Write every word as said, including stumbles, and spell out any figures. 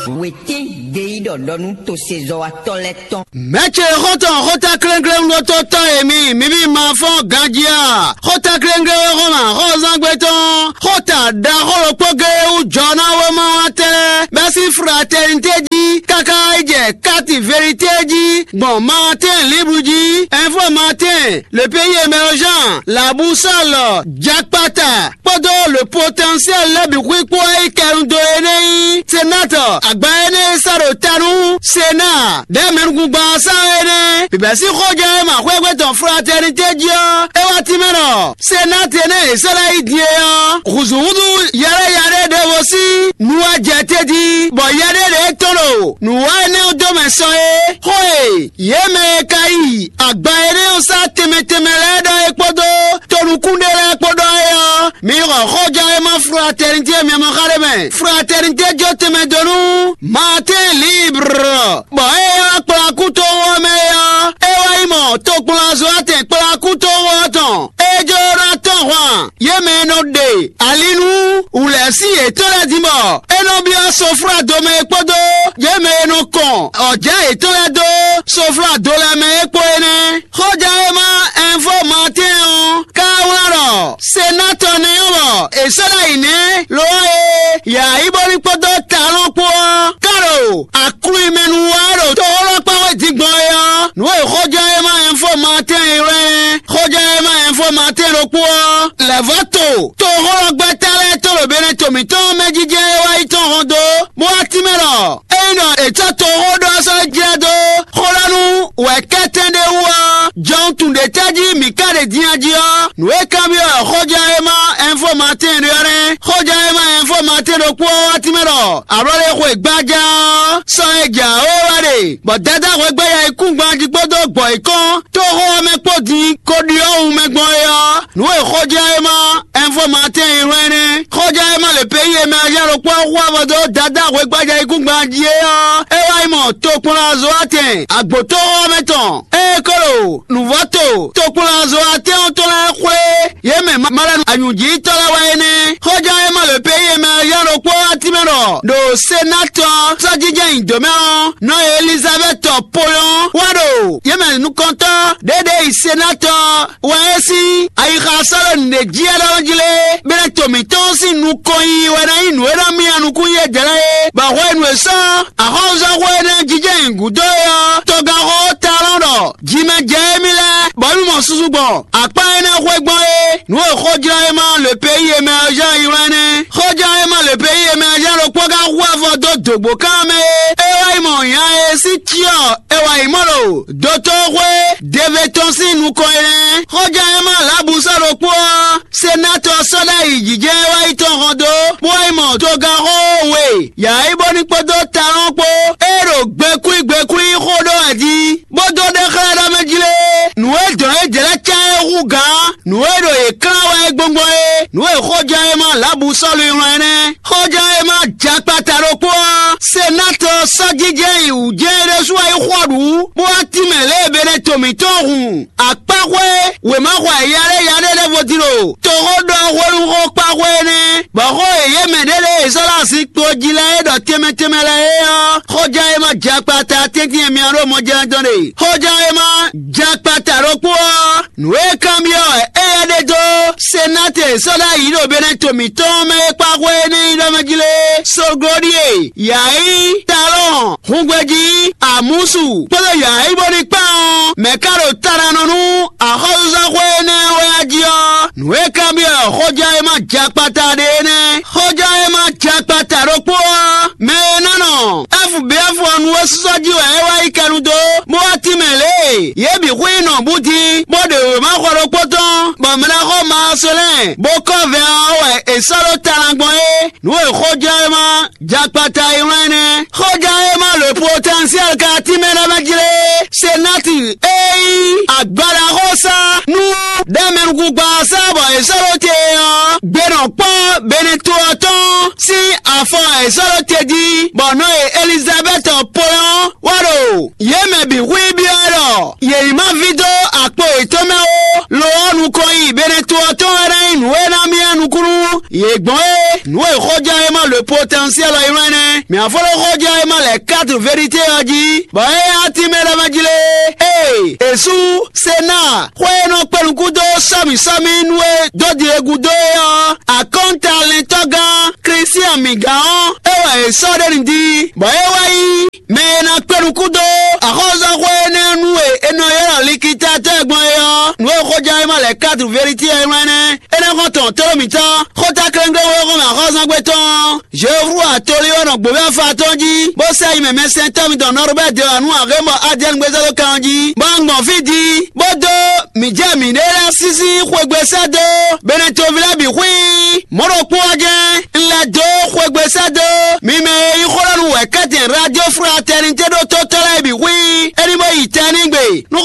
Wětín gbeyíɖɔ ɖɔ nú tosezɔ́watɔ́ lɛ́ɛ tɔn. Mɛ̌ ce xɔ́ntɔn xótákléŋkléŋ ɖótó tɔn e mi, mi bí ma fɔ́n ganjí a? Xótákléŋkléŋ e xɔ́n mɛ axɔ́zángbé tɔn, xóta ɖaxó ɖokpó géé wú jɔ ná wéma wá tɛ́, bɛ́ sín fraternité jí káká yi jɛ káti verité jí gbɔn Martin Libre jí. Info Martin, le pays émergent, la boussole, Jakpata, kpódó le potentiel lɛ́ɛ bǐ xwíxwó e kɛnu dó é nɛ́ nyí senatɔ agba énɛ́ e sɔ́ ɖo ta nú Sena ɖɛ̌ mɛnukúngban ɔ́ sá é nɛ́. Bǐbɛ́ sín xɔjɛ́ e ma xwégbe tɔn fraternité jí ɔ́, é wá tínmɛ ɖɔ Sena tɛnɛ́ è sɔ́ ná yi din é ɔ́, hǔzúhúzú yɛɖéyɛɖé ɖěvo sín nu wá jɛ te jí, bɔ yɛɖé ɖě tɔn ɖo nǔ wa énɛ́ ɔ́ dó mɛ sɔ é. Xó e yě mɛ e ka yi agba énɛ́ ɔ́ sá tɛnmɛ tɛnmɛ lɛ́ɛ ɖɔ é kpódó tonukún ɖé lɛ́ɛ kpó ɖɔ é ɔ́, mi xɔ xɔjɛ́ e ma fraternité miamɔ xa ɖé mɛ. Fraternité jó tɛnmɛ dó nú Martin Libre, bɔ é ɔ́ kplá kú tó xó ɔ́ mɛ é ɔ́, é wá yi mɔ tokplɔ́nzɔ́watɛn kplá kú tó xó ɔ́ tɔn. É jló ná tɔ́n hwan yě mɛ e nɔ ɖe ali nú wǔlɛ́sin yětɔn lɛ́ɛ din bɔ é nɔ byɔ́ soflado mɛ é kpódó yě mɛ e nɔ kɔn ɔ̌jɛ́ yětɔn lɛ́ɛ dó soflado lɛ́ɛ mɛ é kpó é nɛ́. Xɔjɛ́wéma Ɛnfo Matɛ́n ɔ́ ka wlán ɖɔ Senatɔ nɛ́ ɔ́ bɔ è sɔ́ ɖ'ayǐ nɛ́, lo ɔ́ e yǎ yi bó ní kpódó talɔn kpó ɔ́, ká ɖo aklúnmɛ nu wá ɖo toxólɔ́kpáwé din gbɔn é ɔ́, nǔ e xɔjɛ́wéma Ɛnfo Matɛ́n e wɛ xɔjɛ́wéma Ɛnfo Matɛ́n ɖokpó ɔ́ lɛ̌ vɔ́ to toxólɔ́gbɛ́ta lɛ́ɛ tó ɖo Benɛto mǐtɔn mɛ jijɛ e wá yi tɔn hɔn dó, bó wá tínmɛ ɖɔ ényí ɖɔ è cɔ́ toxó ɖó ɔ́ sɔ́ jlɛ́ dó xó ɖɔ nú wɛ̌kɛ́tɛn ɖé wú ɔ́, jɔwun tun ɖě tɛ́ jí mǐ ka ɖe din a jí ɔ́, nǔ e kanbyɔ́ xɔjɛ́wéma Ɛnfo Matɛ́n ɖe ɔ́ nɛ́. Xɔjɛ́wéma Ɛnfo Matɛ́n ɖokpó ɔ́ wá tínmɛ ɖɔ ablɔ́ɖéxwe gbájá ɔ́ sɔ́ é jɛ awǒ wá ɖe, bɔ Dadá hwɛgbɛ́ya e kún gban jí kpódó gbɔ̌ yěkɔn tóxó ɔ́ mɛ kpó din ko ɖyɔ́ wun mɛ gbɔn é ɔ́, nǔ e xɔjɛ́wéma Ɛnfo Matɛ́n e wlán nɛ́. Xɔjɛ́wéma le peyi e mɛ aja ɖokpó ɔ́ hu avɔ dó Dadá hwɛgbájá e kún gban jí é ɔ́, é wá yi mɔ tokplɔ́nzɔ́watɛn agbǒtóxó ɔ́ mɛ tɔn. Ée é ko ɖo nǔvɔ́to tokplɔ́nzɔ́watɛn ɔ́ tɔn lɛ́ɛ xwlé yě mɛ malɛnu anyǔjítɔ́ lɛ́ɛ wɛ é nɛ́. Xɔjɛ́wéma le peyi e mɛ aja ɖokpó ɔ́ wá tínmɛ ɖɔ ɖo Senatɔ sɔ́jijɛ nyi dǒ mɛ ɔ́, nɔ Elizabɛ́ti ponyɔ́ wá ɖo yě mɛ nukɔntɔ́ ɖě ɖě yi Senatɔ wɛ é sín ayixa sɔ́ ɖo nǔɖé jí é ɖɔ jí lé, Benɛto mǐtɔn sín nukɔn yiyi wɛ ná nyí nǔ e ná myá nukún yí é jɛ lɛ́ɛ é, bɔ hwenu e sɔ́ axɔ́súzɔ́xwé énɛ́ jijɛ nyi gǔdo é ɔ́, tɔgánxó talɔn ɖɔ jimɛ jɛ émí lɛ́ɛ, bɔ émí mɔ susu gbɔn akpá énɛ́ xwé gbɔn é. Nǔ e xɔjlɔ́ e ma le peyi e mɛ ɔ́ zán yi wlán nɛ́. Xɔjlɔ́ e ma le peyi e mɛ ɔ́ zán ɖokpó ka hu avɔ dó dǒgbó kan mɛ é. É wá yi mɔ nya e sín cyɔ è wǎ yi mɔ ɖo dotóxwé Dɛvɛtɔn sín nukɔn é nɛ́. Xɔjlɔ́ e ma lǎbǔ sɔ́ ɖokpó ɔ́, Senatɔ sɔ́ ɖ'ayǐ jijɛ wá yi tɔn hɔn dó, bó wá yi mɔ togánxó we, yǎyí bó ní kpódó talɔn kpó, é ɖo gbɛkúí gbɛkúí xó ɖó wɛ jí, bó dó ɖe xlɛ́ ɖɔ mɛ jí lé. Nǔ e dɔn é jlɛ́ cán é hú gǎn, nǔ e ɖo yě klán wɛ é gbɔngbɔn é, nǔ e xɔjɛ́wéma Lǎbu Sɔ́lu yi wlán é nɛ́. Xɔjɛ́wéma jakpata ɖokpó ɔ́, Senatɔ sɔ́ jijɛ yi wǔ jɛ́n é ɖésú wá yi xɔ ɖǔ, bó wá tínmɛ lě e Benɛto mǐtɔn hun akpáxwé wěmaxɔ yaɖé yaɖé ɖěvo din ɖo toxó ɖɔ hwenu xó kpáxwé énɛ́, bɔ xó e yě mɛ ɖě lě e è sɔ́ ɖo azinkpo jí lɛ́ɛ é ɖɔ tɛnmɛ tɛnmɛ lɛ́ɛ é ɔ́, xɔjɛ́wéma jakpata tɛ́ntin e myɔ ɖo mɔjɛ́nɛtɔn ɖe. Xɔjɛ́wéma jakpata ɖokpó ɔ́, nǔ e kanbyɔ́ wɛ éyɛ́ ɖe dó Senate sɔ́ ɖ'ayǐ ɖo Benɛto mǐtɔn mɛ e kpáxwé énɛ́ nyí ɖɔ mɛ jí lé, Soglodie, Yayi, Talɔn, Hungbejí, Amusu kpódó Yayi bó ní kpán ɔ́, mɛ̌ ka ɖo ta ná nɔ nú axɔ́súzɔ́xwé énɛ́ wɛ a jí ɔ́, nǔ e kanbyɔ́ xɔjɛ́wéma jakpata ɖe é nɛ́. Xɔjɛ́wéma jakpata ɖokpó ɔ́, mɛ e ná nɔ F B F ɔ́ nu é sɔ́ jí wɛ é wá yi kɛnu dó, bó wá tínmɛ lě e yě bǐ xwí nɔ bú dín, bó ɖe wěma xɔ ɖokpó tɔn, bɔ mɛ ɖaxó Maasolɛ́n bó kɔ́ vɛ ɔ́ wɛ è sɔ́ ɖó ta ná gbɔn é. Nǔ e xɔjɛ́wéma jakpata yi wlán nɛ́. Xɔjɛ́wéma le potɛnsiɛl ka tínmɛ ɖɔ mɛ jí lé. Senati e nyí agbadaxósá nú ɖɛ́mɛnukúngban sá bɔ è sɔ́ ɖó te ɔ́, gbe nɔ kpɔ́ Benɛto ɔ́ tɔn sín afɔ e è sɔ́ ɖó te jí, bɔ nɔ e Elizabɛ́ti ponyɔ́ wá ɖo yě mɛ bǐ xwí byɔ́ ɖɔ yě ní ma ví dó akpo yětɔn mɛ ó. Lo ɔ́, nukɔn yi Benɛto ɔ́ tɔn wɛ ná nyí nǔ e ná myá nukúnnú Yě gbɔn é, nǔ e xɔján e ma le potɛnsiɛl ɔ́ yi wlán nɛ́. Mǐ afɔ́ ɖo xɔján e ma lɛ kátu verité ɔ́ jí, bɔ é nyí atín mɛ lɛ́ɛ mɛ jí lé. Ée è sú Senáa xwé e nɔ kpé nukún dó sɔ́mǐsɔ́mí nú e dó din e gúdo é ɔ́, akɔ́ntalɛntɔ́gán Klísian mǐgán ɔ́, é wɛ è sɔ́ ɖe nǔ jí, bɔ é wá nyí mɛ e ná kpé nukún dó axɔ́súzɔ́xwé énɛ́ nú e è nɔ ylɔ́ likitatɔ́ gbɔn é ɔ́, nǔ e xɔján e ma lɛ kátu verité ɔ́ yi wlán nɛ́. Énɛ́ xɔ́ntɔn tlóló mǐtɔn, xóta klɛ́nklɛ́n wé xɔ́n mɛ axɔ́súzɔ́gbé tɔn ɔ́, Jehovu atolí ɔ́ nɔ gbǒví afa tɔn jí, bó sɛ́ yi mɛ mɛsɛntɔ́ mitɔn Nɔrubɛ́ Delanu Ahémɔ Adiyɛ́ɛn gbézɔ́ dó kan ɔ́ jí, bó wá gbɔn fí din, bó dó mǐ jɛ mǐɖée lɛ́ɛ sísí xwegbe sɛ́ dó Benɛtoví lɛ́ɛ bǐ xwíí. Mɔ̌ ɖokpó ɔ́ jɛ́n, un lɛ́ dó xwegbe sɛ́ dó mi mɛ e nyí xó ɖɔ nú wɛ̌kɛ́tɛn Radio Fraternité ɖó tótɔ́ lɛ́ɛ bǐ xwíí. É ní bó yi tɛnígbe nú